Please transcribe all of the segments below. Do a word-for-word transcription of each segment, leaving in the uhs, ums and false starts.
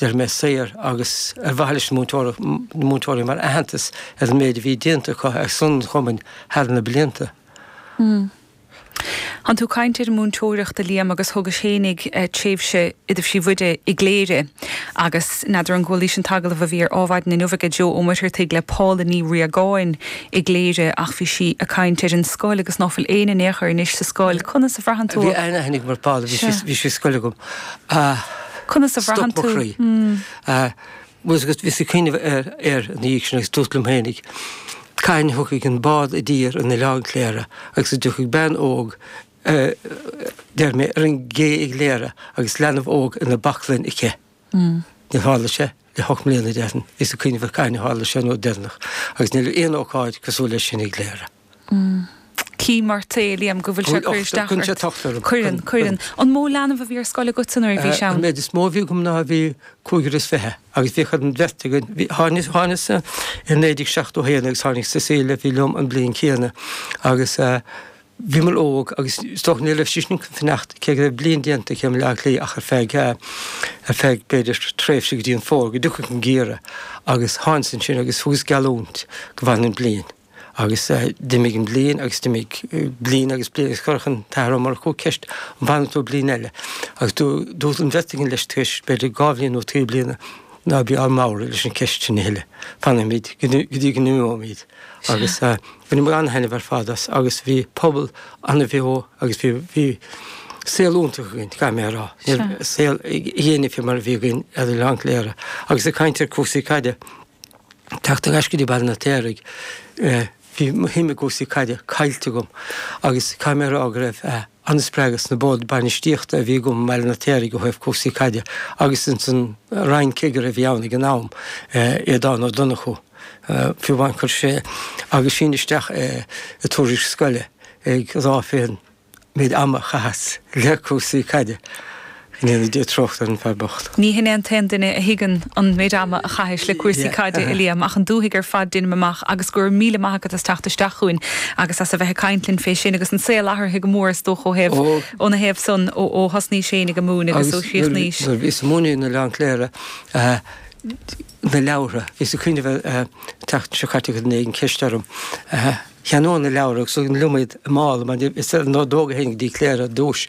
Deir mé saor agus ar mhaithe leis na múinteoirí mar aitheantas ar an méid a bhí déanta acu ar son an chumainn thar na blianta. Tánn tú ag caint ar an múinteoireacht a Liam agus thógais fhéinig tréimhse i dtaibhsí Mhuire i gCléire agus n'fheadar an gcualaís an t-agallamh a bhí ar Adhmhaidin inniu ag Joe Ó Muircheartaigh le Paula Ní Riagáin i gCléire ach bhí sí ag caint ar an scoil agus ná fuil éinne in aon chor anois sa scoil. Conas a bhraitheann tú? Bhí aithne agam ar Paula, bhí sí scoil agam. Conas a bhraitheann tú? Stop mo chroí. Bhíos ag cuimhneamh air ina dhiaidh sin agus dúirt liom féinig, Cathain a thiocfaidh an bád i dtír in Oileán Chléire agus a dtiocfaidh bean óg, deir mé, ar an gcé i gCléire agus leanbh óg ina baclainn aici. Níor tharla sé le hocht mbliana, déarfainn. Bhíos ag cuimhneamh ar cathain a tharla sé an uair deireanach agus níl aon ócáid cosúil leis sin i gCléire. Cím ort é, Liam, go bhfuil sé ag cur isteach Cuireann sé ort. tocht orm. Cuireann, cuireann. An mó leanbh a bhí ar scoil agatsa nuair a bhís An ann? méid is mó a bhí agam ná bhí cúigear is fiche agus bhíodh an bheirt againn, bhí, tháinig, tháinig-sa i naoi déag seachtó a haon agus tháinig Cecilia a bhí liom an bhliain chéanna agus bhíomar óg agus is dócha ní raibh sí sin chun fanacht cé go raibh bliain déanta aici i mBaile Átha Cliath ach ar feadh, ar feadh b'fhéidir tréimhse go dtí an fómhar go dtiocfadh an geimhreadh agus tháinig-sa ansin agus thugas geallúint go bhfanfainn bliain. Agus d'imigh an bhliain agus d'imigh bliain agus bliain agus chuirfeadh an tAthair Ó Murchú ceist an bhfanann tú bliain eile? Agus dúirt an bheirt againn leis tar éis b'fhéidir dhá bhliain nó trí bliana ná bí ár mbodhradh leis an cheist sin a thuilleadh, fanfaimid go dtí go n-imeoimid. Agus bhaineamar an-thaitneamh ar fad as agus bhí pobal an-bheo agus bhí bhí saol iontach againn, caithfidh mé a rá. Ní raibh saol ag éinne fé mar a bhí againn ar Oileán Chléire. Agus ag caint ar chúrsaí caide, Teacht ar ais go dtí Baile an Fheirtéaraigh, bhí mo shuim i gcúrsaí caide caillte agam agus caithfidh mé a rá go raibh an-spreagadh sna boird bainistíochta a bhí agam i mBaile an Fheirtéaraigh ó thaobh cúrsaí caide agus ins an Roinn-Chigire a bhí ann ag an am, Aodán Ó Donnchú. Fiú amháin chuir sé aguisín isteach i tuairisc scoile ag rá fén méid ama a chaitheas le cúrsaí caide. Go ndéana Dia trócaire ar an bhfear bocht. Ní hin é an t-aon duine a thuigeann an méid ama a chaithis le cúrsaí caide, a Liam, ach an dúthaigh ar fad, deinim amach, agus go raibh míle maith agat as teacht isteach chugainn agus as a bheith ag caint linn fé sin agus an saol athraithe go mór is dócha ó thaobh, óna thaobh san, ó ó thosnaís féin ag múineadh agus ó Agus chríochnaís. nuair a bhíos ag múineadh in Oileán Cléire, na leabhartha, bhíos ag cuimhneamh ar an tseachtain seo caite chuir duine éigin ceist orm, Cheannóinn na leabhartha agus thugainn liom iad i mála mar is ar an ordóg a théinn go dtí Cléire ar dtúis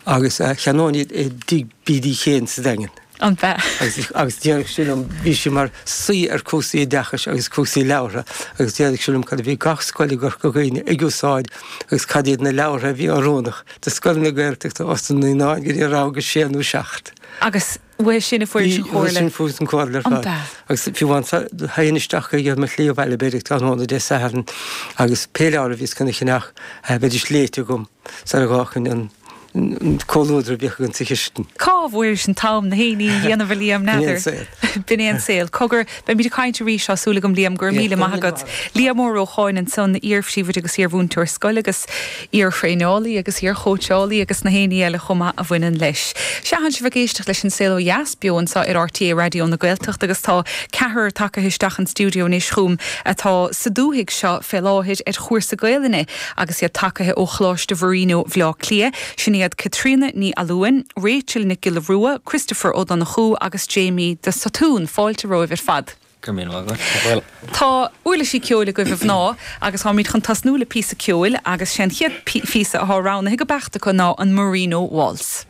agus cheannóinn iad i dtigh B D Kane sa Daingean. An b'ea? Agus agus déarfadh sé liom, bhí sé mar saoi ar cúrsaí oideachais agus cúrsaí leabhartha agus déarfadh sé liom cad a bhí gach scoil i gCorca Dhuibhne ag úsáid agus cad iad na leabhartha a bhí oiriúnach do scoileanna Gaeltachta ós na naíonáin go dtí a rang a sé nó seacht. Agus uaidh sin a fuairis an chomhairle. Uaidh sin fuaireas an chomhairle ar An fad. b'ea? Agus fiú amháin théinn isteach chuige ar mo shlí abhaile b'fhéidir tráthnóna Dé Sathairn agus pé leabhar a bhíos chun a cheannach bheidís léite agam sara bhfágfainn an comhluadar a bhíodh againn sa chistin. Cá bhfuairis an t-am na haon ní a dhéanamh a Liam, B'in é an n'fheadar. saol. B'in é an saol. Cogar, beimid ag caint arís, tá súil agam Liam, go raibh míle maith agat. Liam Ó Rócháin ansan, iar-phríomhoide agus iar-mhúinteoir scoile agus. iar-thraenálaí agus iar-chóitseálaí agus na haon ní eile chomh maith a bhaineann leis. Sea, tánn sibh ag éisteacht leis An Saol Ó Dheas, beo anseo ar R T É Raidió na Gaeltachta agus tá ceathrar tagtha isteach an stiúideo anois chugam atá sa dúthaigh seo fé láthair ar chúrsa Gaelainne agus iad tagtha ó Choláiste Mharino Bhaile Átha Cliath. Sin iad Caitríona Ní Fhallúin, Rachel Nic Giolla Rua, Christopher Ó Donnchú agus Jamie de Sotún. Fáilte romhaibh ar fad. Go raibh míle maith agat. Tá uirlisí ceoil agaibh a mhná agus táimid chun tosnú le píosa ceoil agus sé an chéad phíosa atá roghnaithe ag beirt acu ná an Marino Waltz.